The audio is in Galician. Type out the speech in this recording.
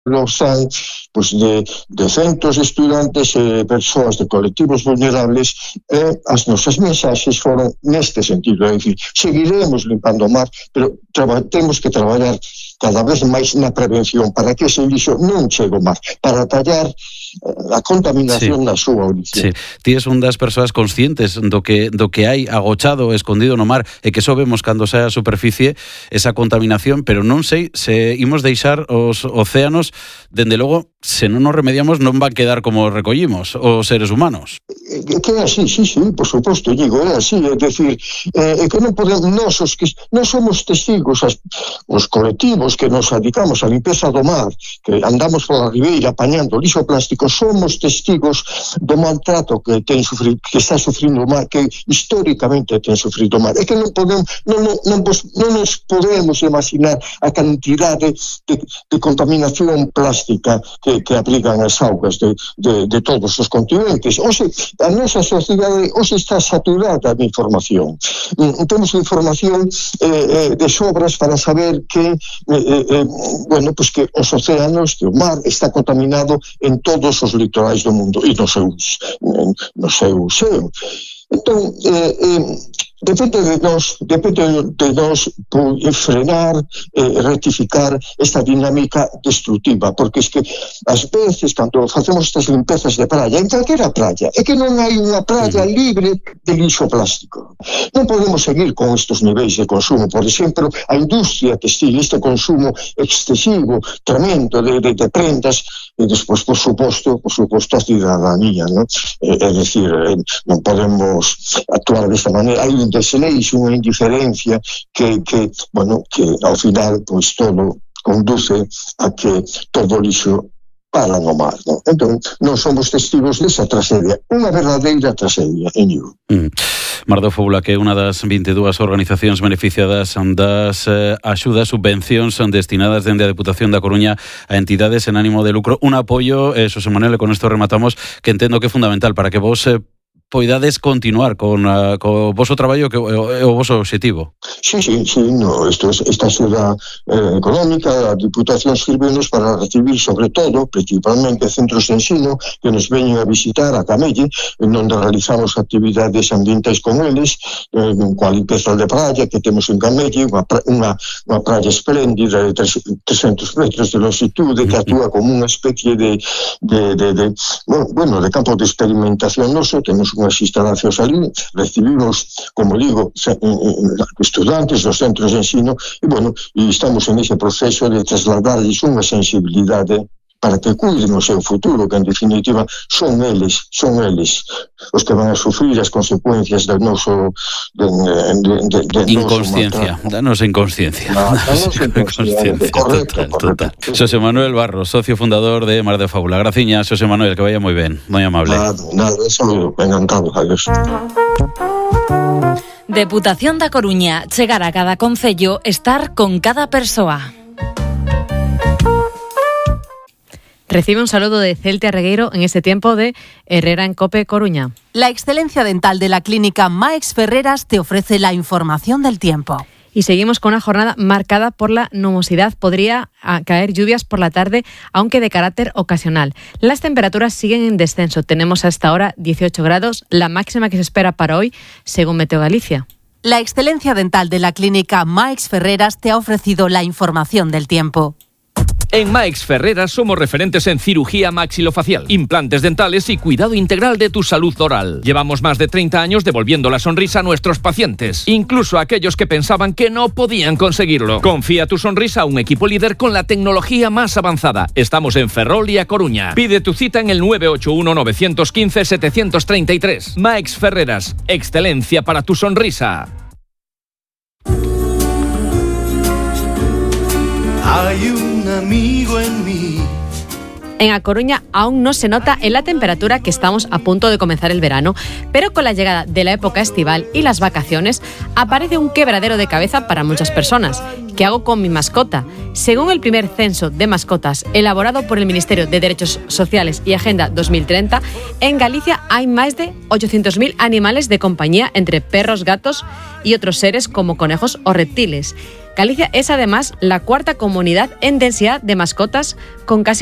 son pues, de centros de estudantes e persoas de colectivos vulnerables, as nosas mensaxes foron neste sentido, é dicir, seguiremos limpando o mar, pero temos que traballar cada vez máis na prevención para que ese lixo non chegue ao mar, para tallar a contaminación na súa origen. Ti és un das persoas conscientes do que hai agochado, escondido no mar, e que só vemos cando sae a superficie esa contaminación, pero non sei se imos deixar os océanos, dende logo, se non nos remediamos non van quedar como recollimos os seres humanos. Que é así, sí, por suposto, digo, é así, é dicir, que non podemos, non somos testigos, os colectivos que nos dedicamos á limpeza do mar, que andamos pola ribeira apañando lixo plástico, somos testigos do maltrato que está sufrindo o mar, que históricamente ten sufrido o mar. É que non nos podemos imaginar a cantidade de contaminación plástica que abrigan as augas de todos os continentes. Oxe, a nosa sociedade hoxe está saturada de información. Temos información de sobras para saber que que os océanos, que o mar está contaminado en todos os litorais do mundo e no seu xeo. Entón, depende de nós frenar, rectificar esta dinámica destructiva, porque es que ás veces, cando facemos estas limpezas de praia, en calquera praia, é que non hai unha praia libre de lixo plástico. Non podemos seguir con estes niveis de consumo. Por exemplo, a industria textil, este consumo excesivo, tremendo de prendas, e despois, por suposto, a cidadanía, ¿no? É dicir, non podemos actuar desta maneira. Hai un desleixo, unha indiferencia que ao final pois todo conduce a que todo o lixo para no mar, ¿no? Entón, non somos testigos desa tragedia, unha verdadeira tragedia en Iu. Mar de Fóbula, que é unha das 22 organizacións beneficiadas das axudas, subvencións destinadas dende a Deputación da Coruña a entidades en ánimo de lucro. Un apoio, Xosé Manuel, e con isto rematamos, que entendo que é fundamental para que vos poidades continuar con o voso traballo que é o voso obxectivo. Sí, esta axuda económica, a Diputación sirve-nos para recibir, sobre todo, principalmente centros de ensino que nos veñen a visitar a Camelle, onde realizamos actividades ambientais con eles, coa limpeza de praia que temos en Camelle, unha praia espléndida de 300 metros de longitude que actúa como unha especie de campo de experimentación noso. Temos unhas instalacións ali, recibimos, como digo, estudantes dos centros de ensino e estamos en ese proceso de trasladarles unha sensibilidade para que cuiden o seu futuro, que en definitiva son eles os que van a sufrir as consecuencias do noso inconsciencia, da nosa inconsciencia. Correcto. Xosé Manuel Barros, socio fundador de Mar de Fóbula. Graciñas, Xosé Manuel, que vaya moi ben, moi amable. Nada, eso encantado, adiós. Deputación da Coruña, chegar a cada concello, estar con cada persoa. Recibe un saludo de Celte Regueiro en este tiempo de Herrera en COPE Coruña. La excelencia dental de la clínica Maix Ferreras te ofrece la información del tiempo. Y seguimos con una jornada marcada por la nubosidad. Podría caer lluvias por la tarde, aunque de carácter ocasional. Las temperaturas siguen en descenso. Tenemos hasta ahora 18 grados, la máxima que se espera para hoy, según Meteo Galicia. La excelencia dental de la clínica Maix Ferreras te ha ofrecido la información del tiempo. En Maix Ferreras somos referentes en cirugía maxilofacial, implantes dentales y cuidado integral de tu salud oral. Llevamos más de 30 años devolviendo la sonrisa a nuestros pacientes, incluso a aquellos que pensaban que no podían conseguirlo. Confía tu sonrisa a un equipo líder con la tecnología más avanzada. Estamos en Ferrol y A Coruña. Pide tu cita en el 981-915-733. Maix Ferreras, excelencia para tu sonrisa. Hay un amigo en mí. En A Coruña aún no se nota en la temperatura que estamos a punto de comenzar el verano, pero con la llegada de la época estival y las vacaciones aparece un quebradero de cabeza para muchas personas. ¿Qué hago con mi mascota? Según el primer censo de mascotas elaborado por el Ministerio de Derechos Sociales y Agenda 2030, en Galicia hay más de 800.000 animales de compañía entre perros, gatos y otros seres como conejos o reptiles. Galicia es además la cuarta comunidad en densidad de mascotas, con casi